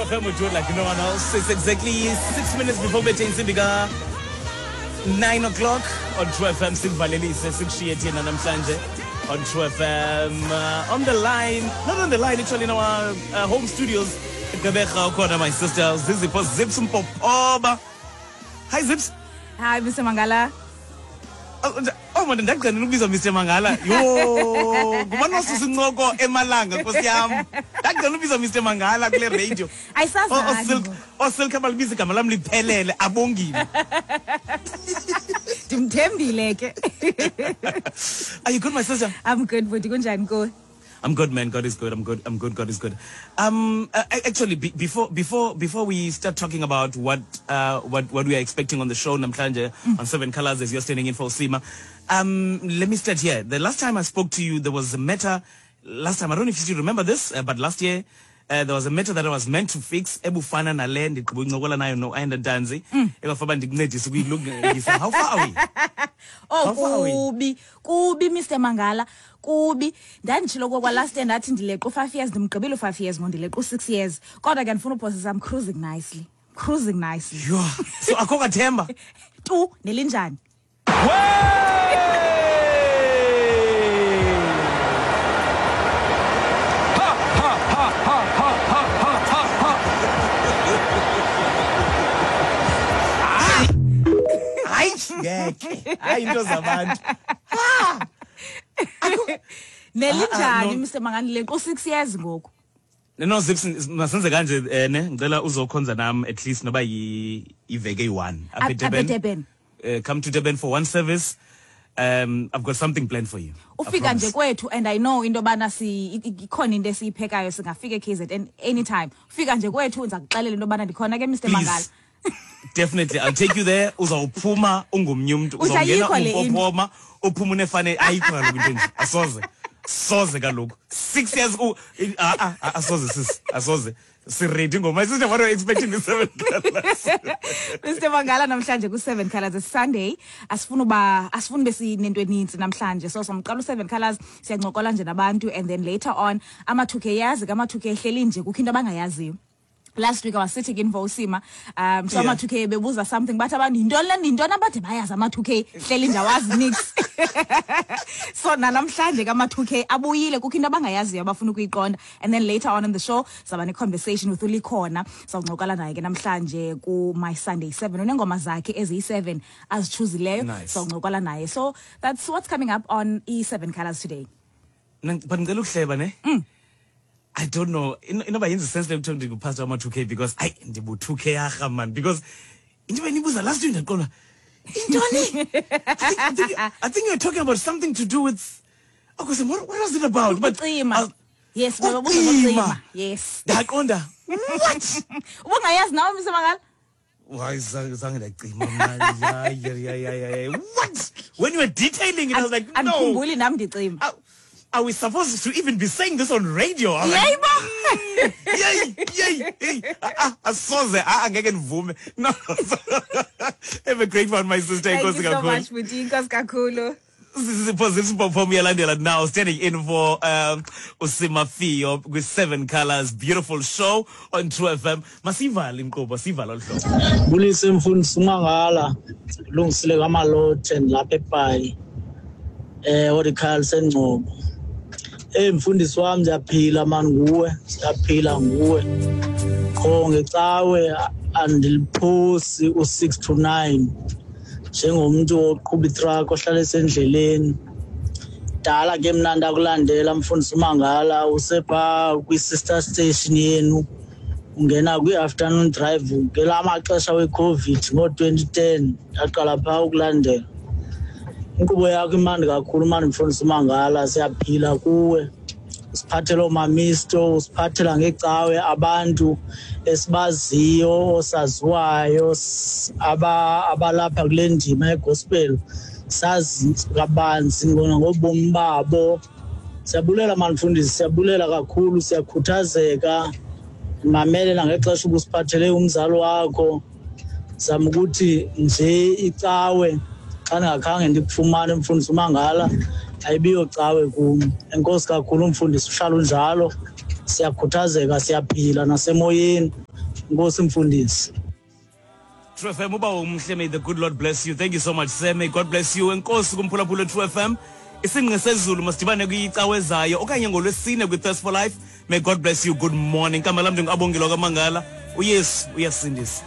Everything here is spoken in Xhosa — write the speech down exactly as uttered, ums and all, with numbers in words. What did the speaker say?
True F M will do it like no one else. It's exactly six minutes before bethe intsimbi ka nine o'clock on True F M. Sikuvalelise, sikushiye thina namhlanje on True F M. Uh, on the line, not on the line, actually in our uh, home studios. Gqeberha ukhona my sister Zizipho Zips Mpopoba. Hi Zips. Hi Mister Mangala. Oh man, ndagcina ukubizwa Mister Mangala. Yo, ngubani wasusa incoko emalanga nkosi yam. Ndagcina ukubizwa Mister Mangala kule radio. Ayisazi. Osilk abalibiza igama lam liphelele abongile. Ndimthembile ke. Are you good, my sister? I'm good, but kunjani kuwe? I'm good, man. God is good. I'm good. I'm good. God is good. Um, uh, actually, be, before before before we start talking about what uh what what we are expecting on the show namhlanje mm. on Seven Colors as you're standing in for Sima, um, let me start here. The last time I spoke to you, there was a matter. Last time, I don't know if you still remember this, uh, but last year uh, there was a matter that I was meant to fix. Ebufana nale ndiqhubuncokola nayo no Ayanda Ntanzi. Ebafaba ndikuncedise ukuyilungisa. How far are we? Oh, kubi, kubi Mister Mangala, kubi. Ndanditshilo kwa last year ndathi ndileqa u-five years, ndimgqibile u-five years ngo ndileqa u-six years. Kodwa ke ndifuna uphosisa, I'm cruising nicely. Cruising nicely. Yho. So akho kathemba? Tu nelinjani? Ha ha ha ha ha ha ha ha. Hayi ngeke. Hayi into zabantu. Nelinjani Mister Mangala leqa u-six years ngoku? No Zips, masenze kanje ne ngicela uzokhonza nami at least noba iveke eyi-one apha eDurban. Uh, come to Durban for one service. Um, I've got something planned for you. Ufika nje kwethu and I know into bana si ikhona into esiyiphekayo singafika e K Z N anytime. Ufika nje kwethu ngizakuxelela into bana ndikhona ke Mister Mangala. Definitely, I'll take you there. Uzawuphuma ungomnye umuntu, uzawungena umpophoma, uphuma unefane ayikho kaloku into nje. Asoze. Soze kaloku. Six years ah ah asoze sis. Asoze. Si-ready ngoma. Sister, what are you expecting with Seven Colors? Mister Mangala namhlanje ku Seven Colors it's Sunday. Asifuna uba asifuna besinento eninzi namhlanje. So somqala u Seven Colors siyancokola nje nabantu and then later on ama two K yazi ama two K ehleli nje kukho into abangayaziyo. Last week I was sitting in Vosima, um, so ama two K bebuza something, but abantu yintoni le yintoni abade bayazi ama two K hleli nje awazi nix. So namhlanje ke ama two K abuyile kukho into abangayaziyo abafuna ukuyiqonda and then later on in the show saba ne conversation with uLikhona sawuncokola naye ke namhlanje ku My Sunday seven unengoma zakhe eziyi seven azichuzileyo sawuncokola naye. So that's what's coming up on E seven Colors today. But ngicela ukuhleba ne? Mm. I don't know. Inoba yenza sense le kuthiwa ndingupastor wama two K because ay ndibu two K arha man because into benibuza last week ndaqonda intoni. I think, I think, I think you're talking about something to do with okay, so what, what was it about? But uh, yes, baba yes. Ndaqonda what? Ubungayazi nawe Mister Mangala? Why zange ndacima mna. Yeah yeah yeah yeah. What? When you were detailing it I was like no. Andikhumbuli nam ndicima. Are we supposed to even be saying this on radio? I'm like, yay, yay, yay. Asoze, angeke ndivume. No. Have a great one, my sister. Thank you so much, Buti. Inkosi kakhulu. Sipho Sipho Yalandela now standing in for um Usima Fiyo with Seven Colors, beautiful show on True F M. Masivale inkqubo, sivale olu hlobo. Bulise mfundisi uMangala, lungisile kaMalothe lapha ePayi. Eh Oracle sengcobo. Eh mfundisi wami siyaphila man nguwe, siyaphila nguwe. Qho ngecawe andiliphosi u six to nine. Njengomuntu oqhuba itruck ohlala esendleleni. Dala ke mina ndakulandela mfundisi uMangala usepha kwi sister station yenu. Ungena kwi afternoon drive ngelamaxesha we-COVID ngo twenty ten ndaqala pha ukulandela. Inkqubo yakho imandi kakhulu mani mfundisi uMangala siyaphila kuwe. Usiphathela omamisto, usiphathela ngecawe abantu esibaziyo osaziwayo aba abalapha kule ndima yegospel sazi kabanzi ngobomi babo. Siyabulela mani mfundisi, siyabulela kakhulu, siyakhuthazeka. Mamele nangexesha ubusiphathele umzali wakho. Zama ukuthi nje icawe xa ndingakhange ndikufumane mfundisi uMangala ayibiyo cawe kum. Enkosi kakhulu mfundisi, uhlala unjalo. Siyakhuthazeka, siyaphila nasemoyeni. Nkosi mfundisi. True F M, uba umhle. May the good Lord bless you. Thank you so much, sir. May God bless you. Enkosi kumphulaphula True F M. Isingqi sezulu, masidibane kwicawe ezayo okanye ngolwesine kwi-Thirst for Life. May God bless you. Good morning. Igama lam ndinguAbongile kaMangala. UYesu uyasindisa.